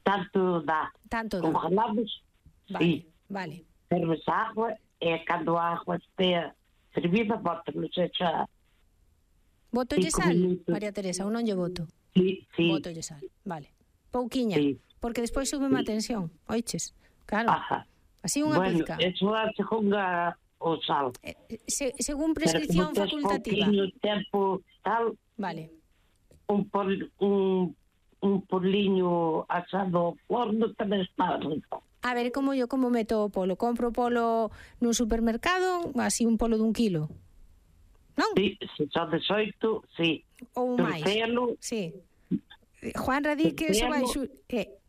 Tanto dá. Congelamos, vale, vale. Ferves a agua e cando a agua estea fervida, bótanos xa. Botolle sal, María Teresa, ou non lle boto? Sí. Botolle sal, vale. Pouquiña, porque despois sube a tensión, oiches? Claro. Ajá. Así unha pizca. Bueno, eso é según o sal. Según prescripción facultativa. Pero como tes tempo tal, vale. Un poliño asado ao forno tamén está rico. A ver, como meto o polo? Compro polo nun supermercado, así un polo dun kilo, non? Sí, se son 18, sí. Ou máis. Sí. Juan Radí que eso vai xusto.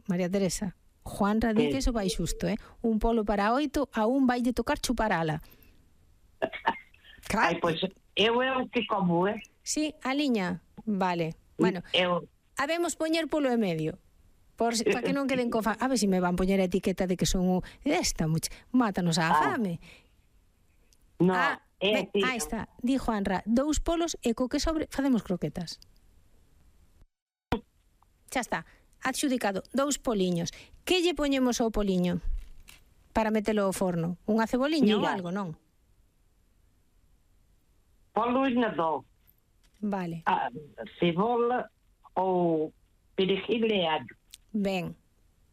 María Teresa, Juan Radí que eso vai xusto, Un polo para 8, a un vai de tocar chuparala. Ai, pois, eu é o que como, Sí, a liña, vale. Bueno, habemos poñer polo e medio. Para que non queden cofa. A ver se me van poñer a etiqueta de que son mátanos a fame. No, aí está, di Juanra, 2 polos e co que sobre facemos croquetas. Xa está, adxudicado, 2 poliños. Que lle poñemos ao poliño para metelo ao forno? Unha ceboliña ou algo, non? Polo inador. Vale. Cebola ou perejil e allo. Ben.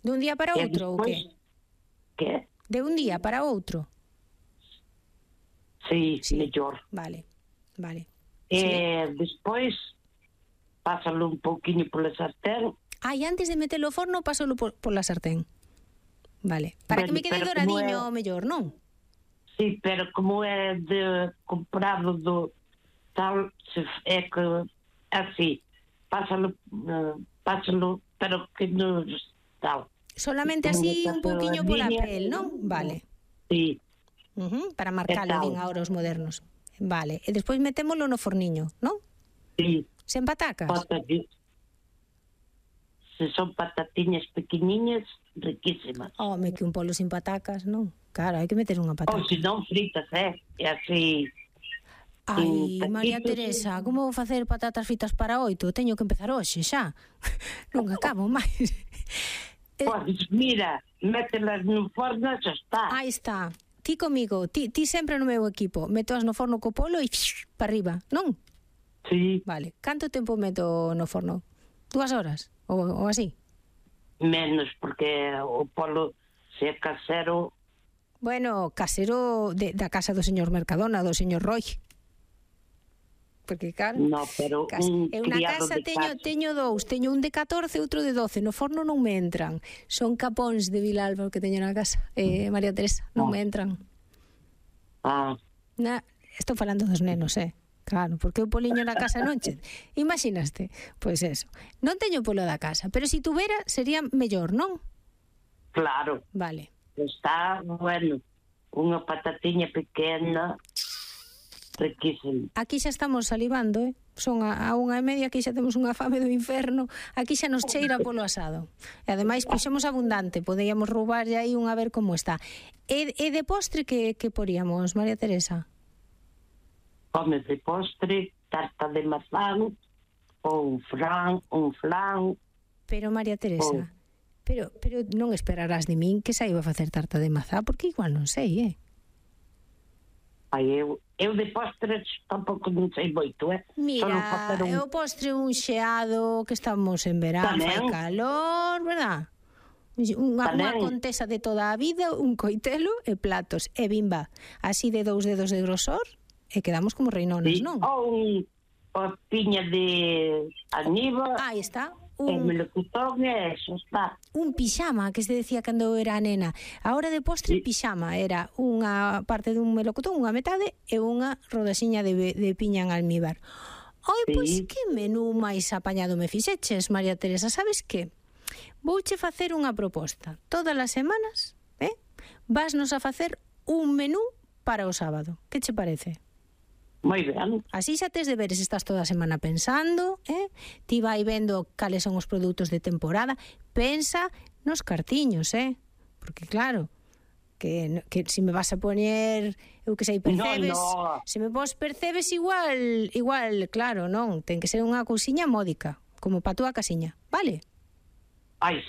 De un día para outro ou que? Que? De un día para outro? Sí, mellor. Vale. Despois pásalo un pouquiño pola sartén. E antes de metelo ao forno pásalo pola sartén. Vale. Para que me quede doradiño mellor, non? Sí, pero como é de comprado do tal, é que así, pásalo, pero que non tal. Solamente así un pouquiño pola pel, non? Vale. Sí. Para marcalo, din agora os modernos. Vale. E despois metémolo no forniño, non? Sí. Sen patacas? Se son patatiñas pequeniñas, riquísimas. Que un polo sin patacas, non? Claro, hai que meter unha pataca. Ou se non fritas, e así... Ai, María Teresa, como vou facer patatas fritas para 8? Teño que empezar hoxe, xa. Non acabo máis. Pois, mira, mételas no forno, xa está. Aí está. Ti comigo, ti sempre no meu equipo. Métoas no forno co polo e para arriba, non? Sí. Vale. Canto tempo meto no forno? 2 horas? Ou así? Menos, porque o polo se é casero... Bueno, casero da casa do señor Mercadona, do señor Roy. Porque, claro, no, pero un criado de casa teño 2, teño un de 14 e outro de 12, no forno non me entran. Son capóns de Vilalba que teño na casa, María Teresa, non me entran. Estou falando dos nenos, claro, porque o poliño na casa non che... Imaginaste? Pois eso, non teño polo da casa, pero se tuvera sería mellor, non? Claro. Vale. Está, bueno, unha patatiña pequena, riquísimo. Aquí xa estamos salivando, son a 1:30, aquí xa temos unha fame do inferno, aquí xa nos cheira polo asado. E ademais puxemos abundante, podíamos roubar aí a ver como está. E de postre que poríamos, María Teresa? Come de postre, tarta de mazán, ou un flan. Pero María Teresa, pero non esperarás de min que saiba facer tarta de mazá, porque igual non sei, Eu de postres tampouco non sei moito, Mira, o postre un xeado, que estamos en verán, fai calor, verdad? Unha contesa de toda a vida, un coitelo e platos, e bimba, así de 2 dedos de grosor, e quedamos como reinonas, non? Ou piña de aniva. Aí está. Un melocotón e eso está. Un pixama, que se decía cando era nena. A hora de postre, pixama era unha parte dun melocotón, unha metade, e unha rodaxiña de piña en almíbar. Pois que menú máis apañado me fixeches, María Teresa, sabes que? Vouche facer unha proposta. Todas as semanas, vasnos a facer un menú para o sábado. Que che parece? Moi ben. Así xa tes deberes, estás toda a semana pensando, ti vai vendo cales son os produtos de temporada, pensa nos cartiños, porque claro, que se me vas a poñer, eu que sei, percebes, se me vos percebes igual, claro, non, ten que ser unha cousiña módica, como pa túa casiña, vale? Ai, sí.